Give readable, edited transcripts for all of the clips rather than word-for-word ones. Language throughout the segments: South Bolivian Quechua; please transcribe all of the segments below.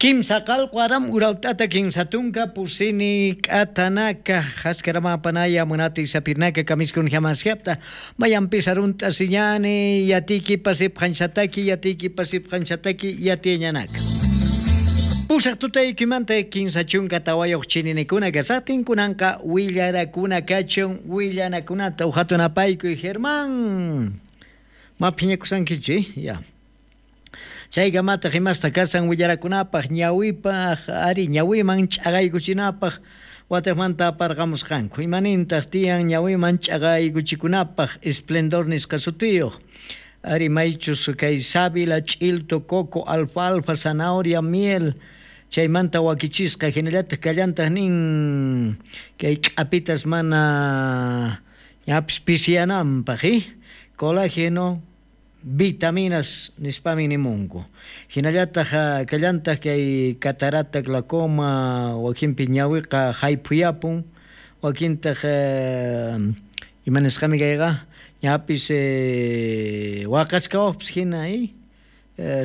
Kimsa qalqu aram urawt'ata kinsa tunka pusini k'atanaka haskaramapanaya munati sapirnaka kamiskun hamasyapta mayanpis arunta siñani yatiki pasipqanchataki yatiki pasipqanchataki yatiñanaka. Pusaq tutaykimanta 34 chininikuna kasaqtin kunanqa willarakuna kachun willanakunata uhatunapaykuy Germán. Ma phiñakusankichu, ya. Chaykamataq imasta kasan willarakunapaq ñawipaq ari ñawiman ch'aqaykuchinapaq wataqmanta aparqamusqanku. Imanintaq tiyan ñawiman ch'aqaykuchikunapaq esplendor nisqa sutiyuq. Ari maychus kay sábila, ch'ilto, coco, alfalfa, zanahoria, miel chaymanta wakichisqa hinallataq kallantaq nin kay k'apitas mana ñapis pisiyananpaq, colágeno, vitaminas nispami nimunku. Hinallataq kallantaq kay catarata, glaucoma, wakinpi ñawiqa hayphuyapun, wakintaq ima nisqami kayqa ñapis waqachkawaqpis hina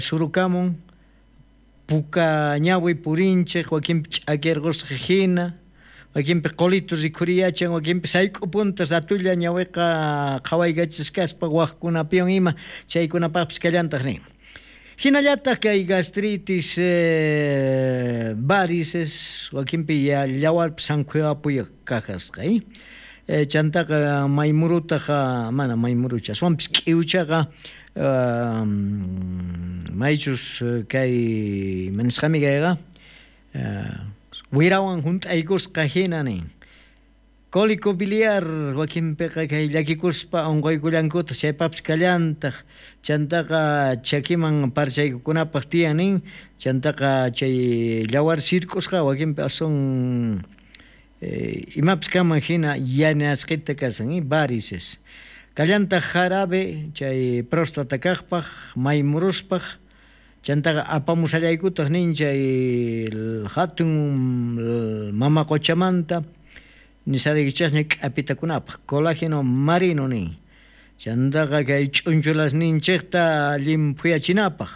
surukamun puka ñawi purinchik, wakinpi ch'akirqusqa hina, wakinpi qolito rikhuriyachan, wakinpi sayk'upunta ratulla ñawiqa qhawaykachis kaspa waqkunapiwan ima chaykunapaqpis kallantaq nin. Hinallataq kay gastritis, varices, wakinpi llawarpis sankhuyapuyaq kajasqa, chantaqa maymurutaqa mana maymurucha, aswanpis k'iwchaqa maychus kay manisqami kayqa wirawan hunt'aykusqa hina nin. Cólico biliar wakinpiqa kay llakikuspa unquykullankutaq chaypaqpis kallantaq, chantaqa chakiman parchaykukunapaq tiyan nin, chantaqa chay llawar sirk'usqa wakinpi aswan imapis kanman hina yanasqita kasan, varices. Kallantaq jarabe chay próstata kaqpaq, maymuruspaq, chantaqa apamusallaykutaq nin chay hatun mama quchamanta nisaraykichasña k'apitakunapaq, colágeno marino nin. Chantaqa kay ch'unchulasninchikta llimphuyachinapaq.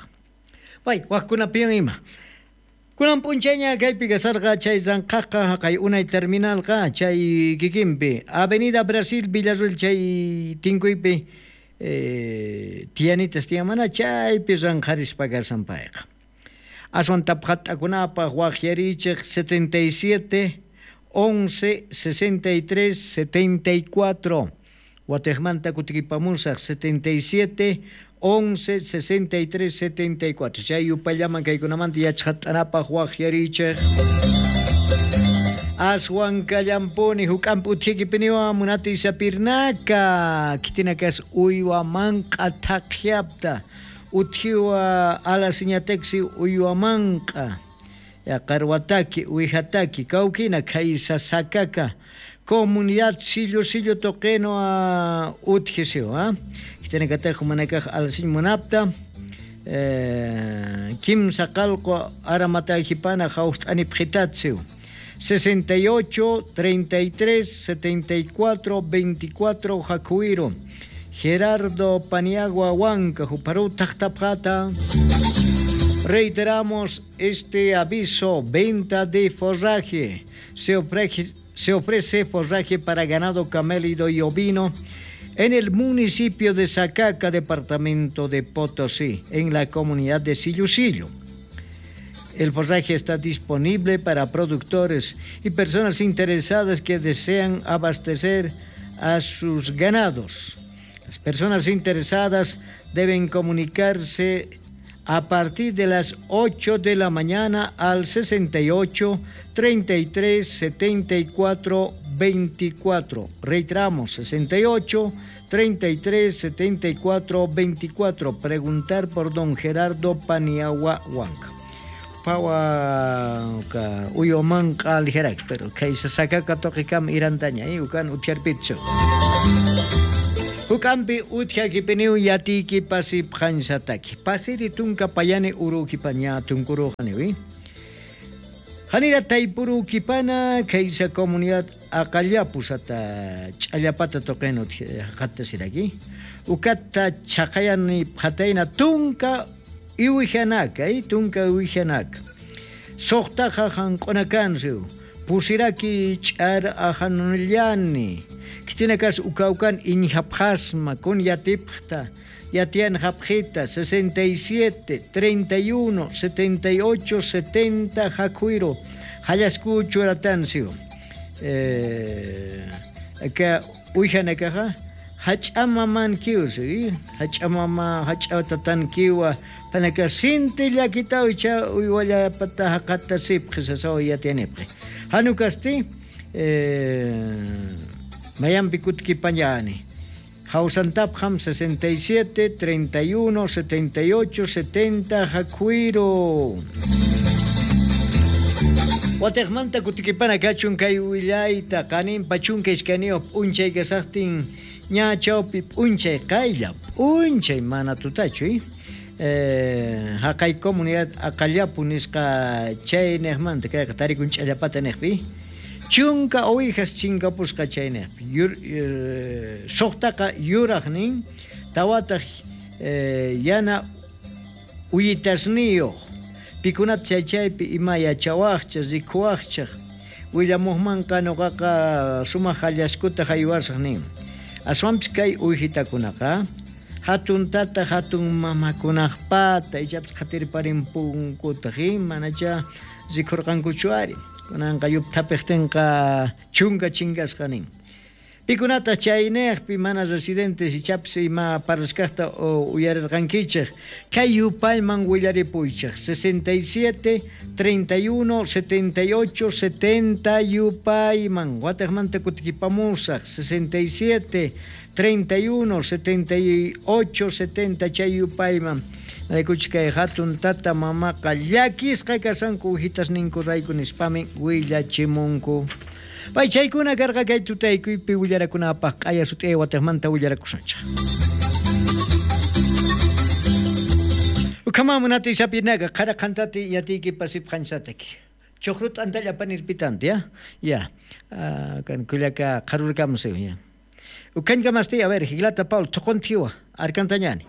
Pay waqkunapiwan ima. Kunan p'unchayña kaypi kasarqa chay ranqhaqqa haqay unay terminalqa chay kikinpi Avenida Brasil Villarruel chay tinkuypi tiyanitas tiyan mana chaypi ranqharispa kasan payqa. Aswan tapqat'akunapaq waqyarichik 77 11 63 74 Watiqmanta kutikipamusaq 77 11 63 74 chay yupallaman kaykunamanta yachqat'anapaq waqyarichik. Aswan kallampuni huk'ampi uthiykipiniwan munati sapirnaka kitinakas uywa manq'a thaqyapta uthiwa alasiñataqsi uywa manq'a qarwataki uwijataki kawkina kaysa sakaka comunidad sillo sillo toqueno a utjisio, kitinakataq manakaq alasiñ munapta kimsa qalqu aramatahipana hawst'ani phitatsiw 68 33 74 24 Jacuiro Gerardo Paniagua Huanca Juparú Tactapjata. Reiteramos este aviso: venta de forraje. Se ofrece forraje para ganado camélido y ovino en el municipio de Sacaca, departamento de Potosí, en la comunidad de Sillusillo. El forraje está disponible para productores y personas interesadas que desean abastecer a sus ganados. Las personas interesadas deben comunicarse a partir de las 8 de la mañana al 68 33 74 24. Reiteramos, 68 33 74 24. Preguntar por don Gerardo Paniagua Huanca. Pawa ka uyoman qalijarak, pero kaysa sakaka toqikam irantaña, ukan utiarpitcho. Ukampi uthiakipiniu yatiki pasi phansataki. Pasiri tunka payani urukipaña tunkurujani. Hanira taipurukipana kaysa comunidad aqallapusata ch'allapata toqeno qatasiraki. Ukata chaqayani phatayna tunka iwijanaka, tunka iwijanaka. Suqtaqa hanq'unakansiw pusiraki ch'ar ajanllani kitinakas ukawkan iñjapjasma kun yatipqta yatian japjita 67 31 78 70 jakuiro hallasku churatansiw ka uyjanakaqa hach'amaman kiwsi hach'amama hach'atatan kiwa panaka sinti llakita uycha uywallapata haqata sipqi sasaw yatianipqi hanukasti mayampi kutkipañani Hausantapjam 67 31 78 70 jakuiro. Watejmanta kutikipana kachun kay willayta qaninpa chunka iskayniyuq p'unchay kasaqtin ña chawpi p'unchay qaylla p'unchay mana tutachu haqay comunidad aqallapu nisqa chayniqmanta kayqa tarikun ch'allapata niqpi chunka ovejas chinkapusqa chayniqpi suqtaqa yuraq nin tawataq yana uyitasniyuq pikunata chay chaypi ima yachawaqchaq rikuwaqchaq willamuqmanqa nuqaqa sumaq hallaskuta haywasaq nin aswanpis kay uwihitakunaqa hatun tata hatun mamakunaqpata ichapis qhatirparinpunkutaq manacha rikhurqankuchu ari kunanqa yupthapiqtinqa chunka chinkasqa nin pikunataq chayniqpi mana residentes ichapis ima parlasqaqta uyarirqankichik kay yupayman willaripuychik 67 31 78 70 yupayman wataqmanta kutikipamusaq 67 31 78 70 chay yupayman rikuchik kay hatun tata mamaqa llakisqa kasanku ujitasninku rayku nispami willachimunku. Pay chaykuna karqa kay tutaykuypi willarakunapaq q'aya sut'iyay wataqmanta willarakusunchik. Ukamamunati sapinaga qara qantati yatiyki pasipqanchataki. Chuqru t'antalla panirpitanti ya. Ya. Kan kullaka qarurkamusiw ya. Ukankamasti a ver, Higlata Paul, toqontiwa, arkantañani.